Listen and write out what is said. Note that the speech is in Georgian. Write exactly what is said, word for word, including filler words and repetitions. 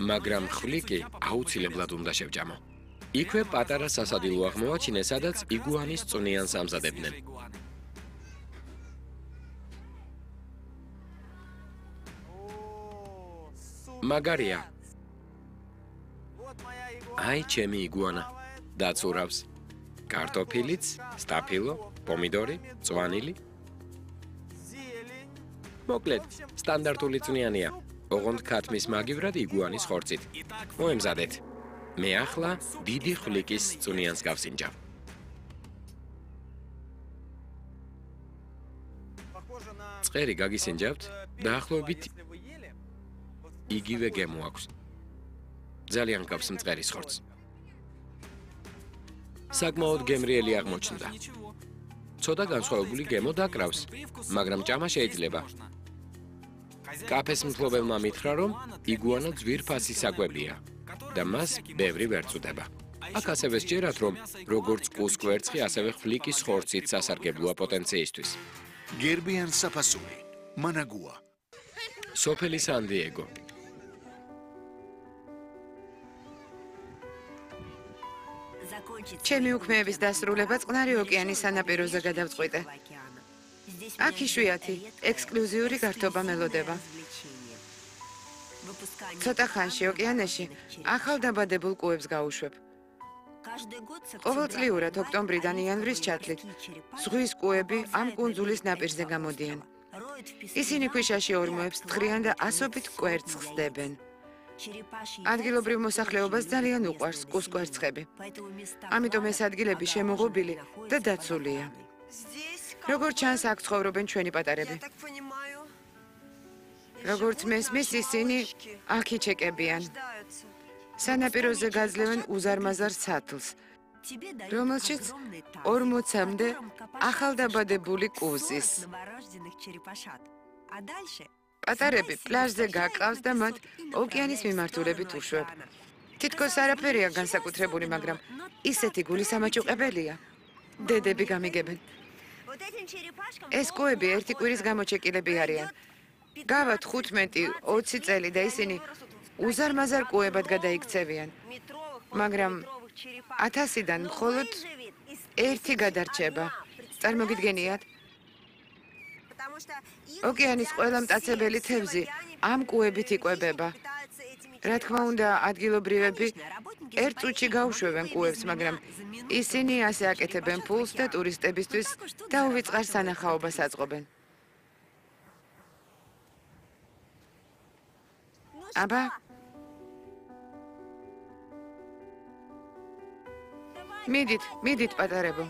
მაგრამ ხვლიკი აუცილებლად უნდა შევჭამო. იქვე პატარა სასადილო აღმოაჩინე, სადაც იგუანის წვნიანს ამზადებდნენ. მაგარია. აი ჩემი იგუანა. დაცურავს. კარტოფილიც, სტაფილო, პომიდორი, წვანილი. მოკლედ, სტანდარტული წვნიანია. ოღონდ ქათმის მაგივრად იგუანის ხორცით. მოემზადეთ. მე ახლა დიდი ხვლიკის წვნიანს გავსინჯავ. წყერი გაგისინჯავთ, დაახლოებით იგივე გემო აქვს. ძალიან გავს მწყერის ხორცს. საკმაოდ გემრიელი აღმოჩნდა. ცოტა განსხვავებული გემო დაკრავს, მაგრამ ჭამა შეიძლება. კაფეს მფლობელმა მითხრა, რომ იგუანა ძვირფასი საკვებია და მას ბევრი ვერ წუდება. აქ ასევე სჯერათ, რომ როგორც კუსკვერცხი, ასევე ხვლიკის ხორცით სასარგებლოა პოტენციისთვის. გერბიან საფასური, მანაგუა. სოფელი სან-დიეგო. ჩემი უქმეების დასრულება წყნარი ოკეანის სანაპიროზე გადავწყვიტე. აქ იშვიათი, ექსკლუზიური გართობა მელოდება. ცოტა ხანში ოკეანეში ახალ დაბადებულ კუებს გავუშვებ. ყოველწლიურად ოქტომბრიდან იანვრის ჩათვლით ზღვის კუები ამ კუნძულის ნაპირზე გამოდიან. ისინი ქვიშაში ორმოებს თხრიან და ასობით კვერცხს დებენ. ადგილობრივ მოსახლეობას ძალიან უყვარს კუსკვერცხები. ამიტომ ეს ადგილები შემოღობილი და დაცულია. როგორც ჩანს, აქ ცხოვრობენ ჩვენი პატარები. როგორც მესმის, ისინი აქ იჩეკებიან. სანაპიროზე გაძლევენ უზარმაზარ სათლს, რომელშიც ორმოცამდე ახალდაბადებული კუზის. პატარები პლაჟზე გაყავს და მათ ოკეანის მიმართულებით უშვებ. თითქოს არაფერია განსაკუთრებული, მაგრამ ისეთი გულისამაჭუყებელია. დედები გამიგებენ. ეს კუები ერთი კვირის გამოჩეკილები არიან. გავათ ხუთმეტი ოცი წელი და ისინი უზარმაზარ კუებად გადაიქცევიან. მაგრამ ათასიდან მხოლოდ ერთი გადარჩება. წარმოგიდგენიათ? ოკეანის ყველა მტაცებელი თევზი ამ კუებით იკვებება. რა თქმა უნდა, ადგილობრივები ერთ წუთში გაუშვებენ კუებს, მაგრამ ისინი ასე აკეთებენ ფულს და ტურისტებისთვის დაუვიწყარ სანახაობას აწყობენ. აბა, მიდით, მიდით პატარებო.